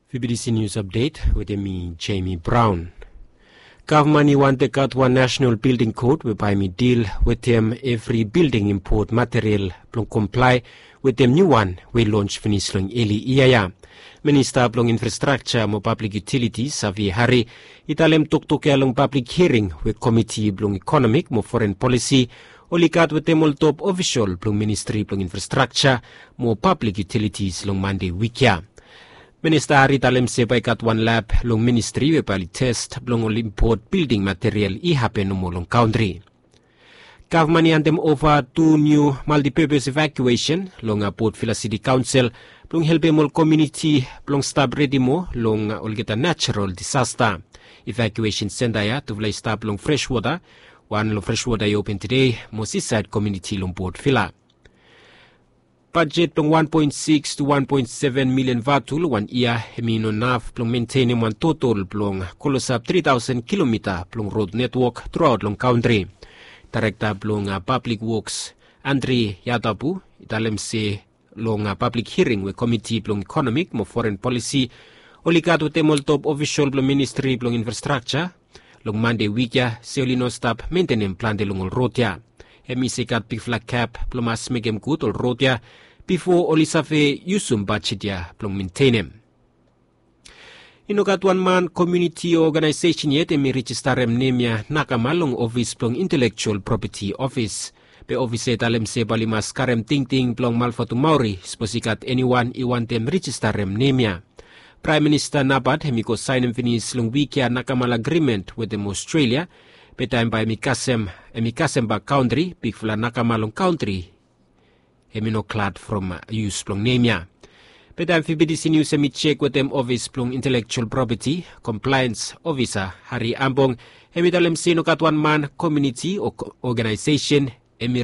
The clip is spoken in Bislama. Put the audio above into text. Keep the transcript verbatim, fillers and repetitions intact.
Fibidisi nius apdet wetem mi, Jemi Braun. Gavman i wantem gat wan nasenal bilding kot we bae mi dil wetem evri bilding impot material blong komplae wetem niu wan we i lons finis long eli yia ya. Minista blong infrastrakja mo pablik yutilitis, Avi Hari, i talem toktok ya long pablik hiring we komiti blong ikonomik mo foren polisi oli gat wetem ol top ofisol blong ministri blong infrastrakja mo pablik yutilitis long Mande wik ya. Minista Hari i talem se bae i gat wan lab long ministri we bae oli tes blong ol impot bilding material i hapen nomo long kantri. Gavman i handem ova tu niu maltipepes evakuesen long Port Vila Siti Kaonsel blong helpem ol komuniti blong stap redi moa long olgeta najerol disasta. Evakuesen senta ya tufala i stap long Freshwater, wan long Freshwater i open tede, mo Seaside komuniti long Port Vila. Bajet blong wan poen sikis tu wan poen seven milian vatu long wan yia hemi no naf blong mentenem wan totol blong klosap tri taosen kilomita blong rod netwok truaot long kantri. Daerekta blong pablik woks, Andri Yatapu, i talem se long pablik hiring we komiti blong ikonomik mo foren polisi oli gat wetem ol top ofisol blong ministri blong infrastrakja long Mande wik ya se oli no stap mentenem plante long ol rod ya. Hemi se i gat bigfala gap blong mas mekem gud ol rod ya bifo oli save yusum bajet ya blong mentenem. I no gat wan man, komuniti o oganaesesen yet hemi rejistarem nem ya nakama long ofis blong Intelekjual Propeti Ofis. Be ofis ya i talem se bae oli mas karem tingting blong Malvatumauri sapos i gat eniwan i wantem rejistarem nem ya. Praem Minista Nabat hemi go saenem finis long wik ya nakama agrimen wetem Ostrelia. Be taem bae hemi kasem, hemi kasem bak kantri, bigfala nakama long kantri hemi no glad from yus blong nem ya. Be taem Fibidisi Nius hemi jek wetem ofis blong Intelekjual Propeti, Komplaens Ofisa Hari Ambong hemi talem se i no gat wan man, komuniti o oganaesesen hemi